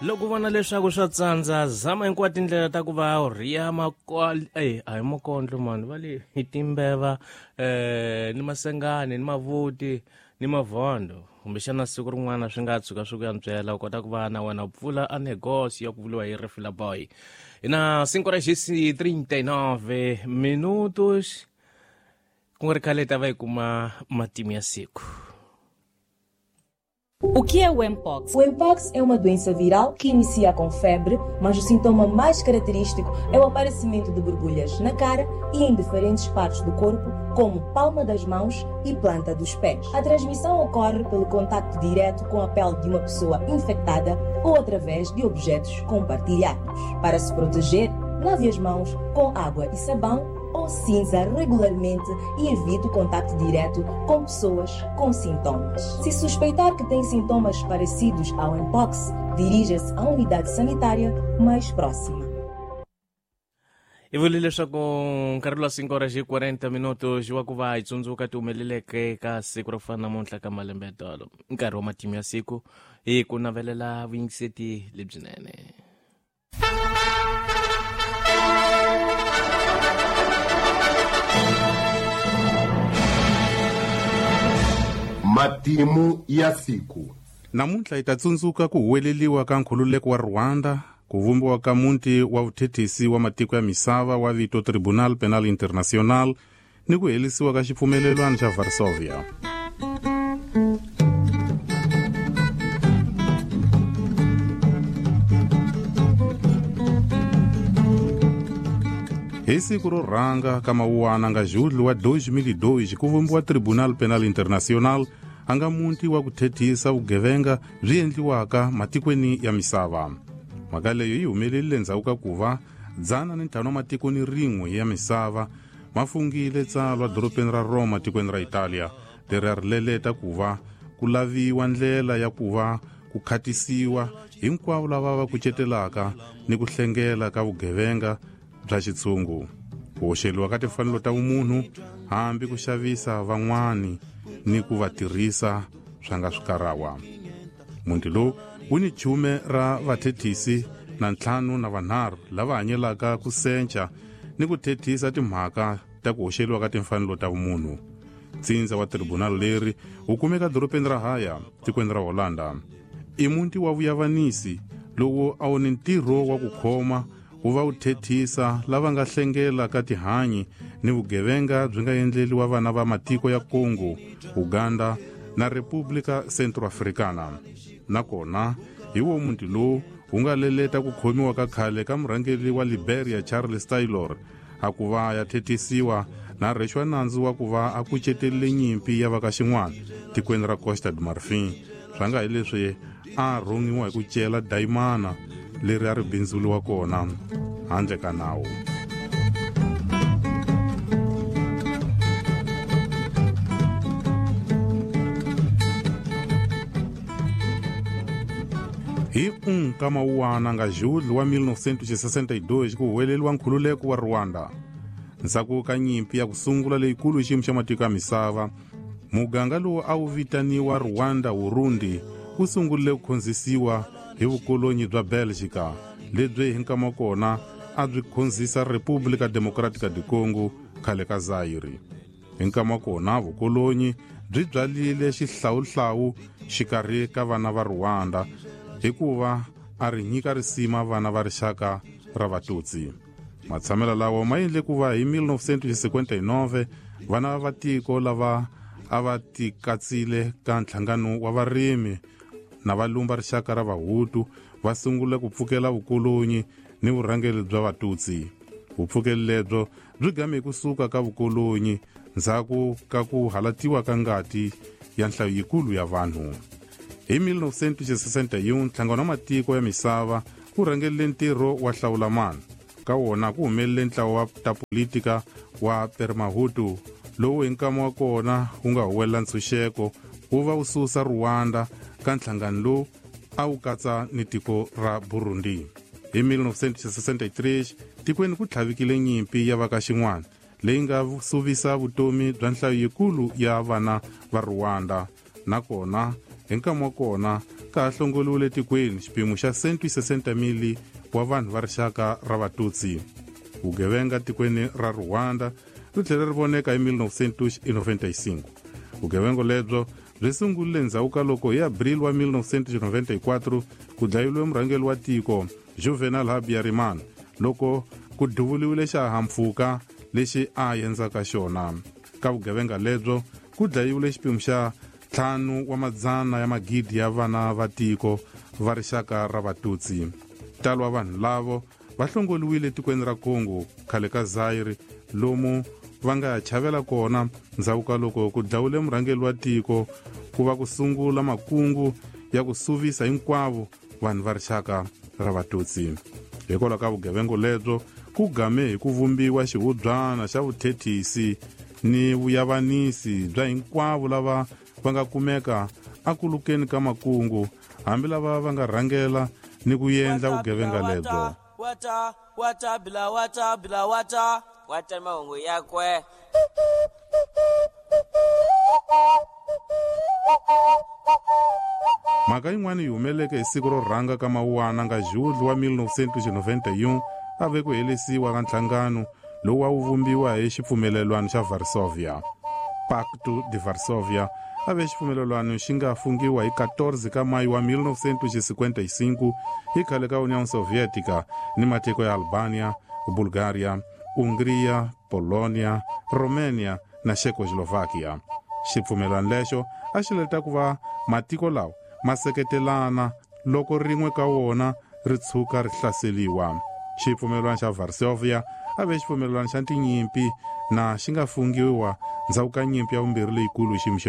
Loko u vona leswaku swa tsandza, zama hinkwato tindlela ta ku va u rhiya ey a hi makondlo mani va le hi timbeva ni masengani ni mavuti ni mavhondo. Kumbexana siku rin'wana swi nga tshuka swi ku antswela u kota ku va na wena u pfula a negocio ya ku vuriwa hi Refila Boy. Hi na 5 horas e 39 minutos. Ku nga ri khale hi ta va hi kuma matimu ya siku. O que é o Mpox? O Mpox é uma doença viral que inicia com febre, mas o sintoma mais característico é o aparecimento de borbulhas na cara e em diferentes partes do corpo, como palma das mãos e planta dos pés. A transmissão ocorre pelo contacto direto com a pele de uma pessoa infectada ou através de objetos compartilhados. Para se proteger, lave as mãos com água e sabão ou cinza regularmente e evite o contacto direto com pessoas com sintomas. Se suspeitar que tem sintomas parecidos ao Mpox, dirija-se à unidade sanitária mais próxima. I vule leswaku nkarhi lowa 5 horas e 40 minutos wa ku va hi tsundzuka ti humeleleke ka siku ro fana namuntlha ka malembe ya tolo. Nkarhi wa matimu ya siku hi ku navelela vuyingiseti lebyinene. Matimu ya siku. Namuntlha hi ta tsundzuka ku huweleliwa ka nkhululeko wa Rwanda, ku vumbiwa ka muti wa vuthethisi wa matiko ya misava wa vito Tribunal Penal Internacional ni ku herisiwa ka xipfumelelwano xa Varsovia. Hi siku ro rhanga ka Mawuwana nga Julho wa 2002 ku vumbiwa Tribunal Penal Internacional a nga muti wa ku thethisa vugevenga byi endliwaka matikweni ya misava. Mhaka leyo yi humelerile endzhaku ka ku va 105 wa matiko ni rin'we ya misava ma fungile tsalwa dorobeni ra Roma tikweni ra Italia leri a ri leleta ku va ku laviwa ndlela ya ku va ku khatisiwa hinkwavo lava va kucetelaka ni ku hlengela ka vugevenga bya xitshungu, ku hoxeliwa ka timfanelo ta vumunhu, hambi ku xavisa van'wani ni ku va tirhisa swa nga swikarawa. Muti lowu wu ni chume ra vathethisi na ntlhanu na vanharhu lava hanyelaka ku senca ni ku thethisa timhaka ta ku hoxeliwa ka timfanelo ta vumunhu. Ntsindza wa tribunal leri wu kumeka dorobeni ra Haya, tikweni ra Holanda. I muti wa vuyavanisi lowu a wu ni ntirho wa ku khoma wu va wu thethisa lava nga hlengela ka tihanyi ni vugevenga byi nga endleliwa vana va matiko ya Congo, Uganda na República Centroafricana. Nakona hi wo muti lowu wu nga leleta ku khomiwa ka khale ka murhangeri wa Liberia Charles Taylor a ku va ya thethisiwa na rhwexiwa nandzu wa ku va a kucetelile nyimpi ya va ka xin'wana tikweni ra Costa do Marfin, swa nga hi leswi a rhongiwa hi ku cela dayimana leri a ri bindzuriwa kona handle ka nawu. Hi 1 ka Mawuwana nga Julho wa 1962 ku huweleliwa nkhululeko wa Rwanda. Ndzhaku ka nyimpi ya ku sungula leyikulu hi xiyimo xa matiko ya misava, muganga lowu a wu vitaniwa Rwanda Urundi wu sungurile ku khonzisiwa hi vukolonyi bya Belgica, lebyi hi nkama wa kona a byi khonzisa República Democrática do Congo khale ka Zaire. Hi nkama wa kona vukolonyi byi byalile xihlawuhlawu xikarhi ka vana va Rwanda hikuva a ri nyika risima vana va rixaka ra Vatutsi. Matshamelo lawa ma endle ku va hi 1959 vana va tiko lava a va tikatsile ka nhlangano wa varimi na valumba rixaka ra Vahutu va sungula ku pfukela vukolonyi ni vurhangeri bya Vatutsi. Vupfukeli lebyo byi game ku suka ka vukolonyi ndzhaku ka ku halatiwa ka ngati ya nhlayo yikulu ya vanhu. Hi 1961 nhlangano wa matiko ya misava wu rhangerile ntirho wa hlawulamani. Ka wona ku humelele ntlawa wa ta politika wa Permahutu lowu hi nkama wa kona wu nga huwelela ntshunxeko wu va wu susa Rwanda ka nhlangano lowu a wu katsa ni tiko ra Burundi. Hi 1963 tikweni ku tlhavikile nyimpi ya va ka xin'wana leyi nga suvisa vutomi bya nhlayo yikulu ya vana va Rwanda, nakona hi nkama wa kona ka ha hlongoliwile tikweni xipimo xa 160,000 wa vanhu va rixaka ra Vatutsi. Vugevenga tikweni ra Rwanda ri tlhele ri voneka hi 1995. Vugevenga lebyo byi sungurile ndzhaku ka loko hi Abril wa 1994 ku dlayiwe murhangeri wa tiko Juvenal Habyarimana loko ku duvuliwile xihahampfhuka lexi a endzaka xona. Ka vugevenga lebyo ku dlayiwile xipimo xa 5 wa madzana ya magidi ya vana va tiko va rixaka ra Vatutsi. Ntalo wa vanhu lavo va hlongoliwile tikweni ra Congo khale ka Zaire lomu va nga ya chavela kona ndzhaku ka loko ku dlawule murhangeri wa tiko ku va ku sungula makungu ya ku suvisa hinkwavo vanhu va rixaka ra Vatutsi. Hikwalaho ka vugevenga lebyo ku game hi ku vumbiwa xihubyana xa vuthethisi ni vuyavanisi bya hinkwavo lava va nga kumeka akulukeni ka makungu hambi lava va nga rhangela ni ku endla vugevenga lebyo. Wata wata bila wata bila wata wata mahungu yakwe. Mhaka yin'wana yi humeleke hi siku ro rhanga ka Mawuwana nga Julho wa 1991 a ve ku helisiwa ka nhlangano lowu a wu vumbiwa hi xipfumelelwano xa Varsovia. Pacto de Varsovia a ve xipfumelelwano xi nga fungiwa hi 14 ka Mayi wa 1955 hi khale ka União Soviética ni matiko ya Albania, Bulgaria, Hungria, Polonia, Romania na Czechoslovakia. Xipfumelelwano lexo a xi leta ku va matiko lawa ma seketelana loko rin'we ka wona ri tshuka ri hlaseriwa. Xipfumelelwano xa Varsovia a ve xipfumelelwano xa tinyimpi na xi nga fungiwa ndzhaku ka nyimpi ya vumbirhi leyikulu xiyimo xa